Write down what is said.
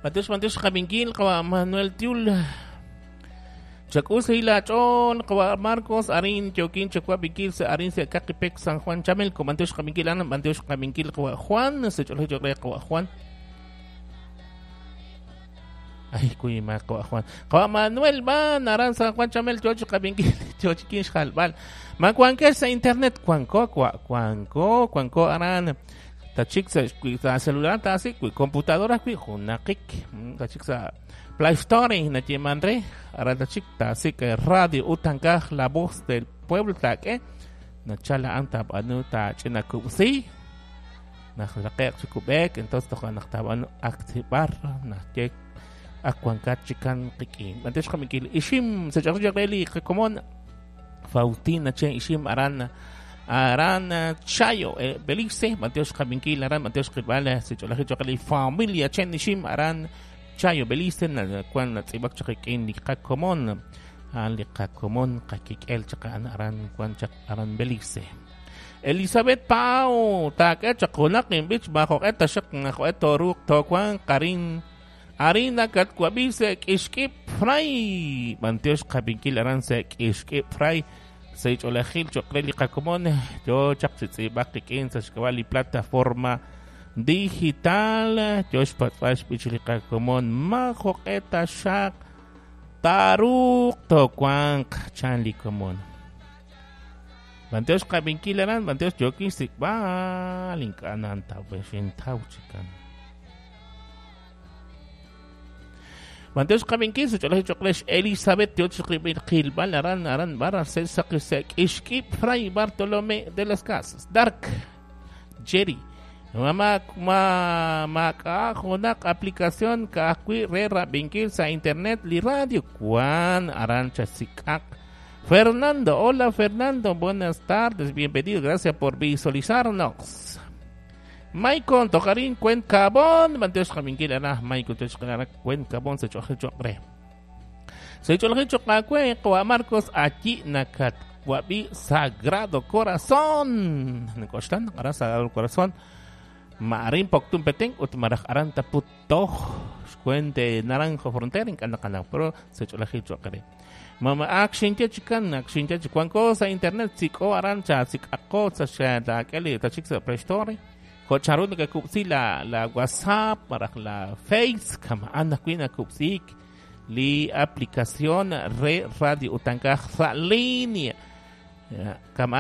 B'antiox b'antiox qab'inkil qawa' Manuel Tiul. Chak'ul sa' laach'ool qawa' Marcos arin yookin chawab'inkil sa' arin sa' Kaqipek San Juan Chamelco. B'antiox qab'inkil aran b'antiox qab'inkil qawa' Juan sa' ch'oolej cho'q re qawa' Juan. Ay, kuy ma qawa' Juan. Qawa' Manuel ban aran San Juan Chamelco yo chi qab'inkil yo chi xjalb'al. Ma wankex sa' internet wanko wanko wanko aran tachik sa sa celular tasik wi computadora wi junaqik tachik sa Play Store nayeman re aran tachik tasik radio utankaj la voz del pueblo tak'e nachala an tab'anu tach'ina kub'si najlaqeq chikub'ek entonces toja naq tab'anu activar najye akwankat chikan qik'in b'antiox qaminkil ixim sa ch'oq li qakomon Faustina Chen ixim aran aran Chayo Belice b'antiox qaminkil aran b'antiox qilb'al sa ch'olaj choq li familia Chen ixim aran Chayo Belice kwan natz'ib'ak chaq qik'in li qakomon an li qakomon qakik'el chaq aran kwan chaq aran Belice. Elizabeth Pau tak'e chaq junaq inb'ich majoq'e taxaq najo'e toruuq towan qarin harina katwab'i sa' k'ixk'ib fray b'antiox qab'inkil aran sa' k'ixk'ib fray sa' ch'oolejil cho'q re li qakomon yo chaq chi tz'iib'aq qik'in sa' xk'ab'a' li plataforma digital yo xpatz'b'al xb'ich li qakomon majoq'e taxaq taruuq towanq chan li komon. B'antiox qab'inkil aran b'antiox yookin xsik'b'al ink'a' nantaw xintaw chikan. B'antiox qab'inkil sa' ch'oolej cho'q re Elizabeth yo chi qilb'al aran aran barra sa' sa' k'ixk'ib Fray Bartolomé de las Casas Dark Jerry ma ma mak'a junaq aplicación ka'ajwi' re rab'inkil sa' internet li radio kwan aran chasik'aq. Fernando, hola Fernando, buenas tardes, bienvenido, gracias por visualizarnos. Maicon, tocarín, cuen cabón, b'antiox qab'inkil ara Maicon tiox qara cuen cabón sa ch'oje cho'q re. Sa ch'oje cho'q awe qawa' Marcos allí nakat wab'i Sagrado Corazón. Nikoxtan ara Sagrado Corazón. Maarin Poctun Petén ut maraj aran taputoj xcuente Naranjo Frontera ink'a' naqanaw pero sa ch'oolajil cho'q re. Mama action chikan action chikan sa internet sik'o aran cha sik'aqo sa xatak'eli tachik sa Play Store. Ko charu nakakupsi la la WhatsApp maraj la Face kamaan ajwi' nakupsik li aplicación re radio utankaj sa línea kamaan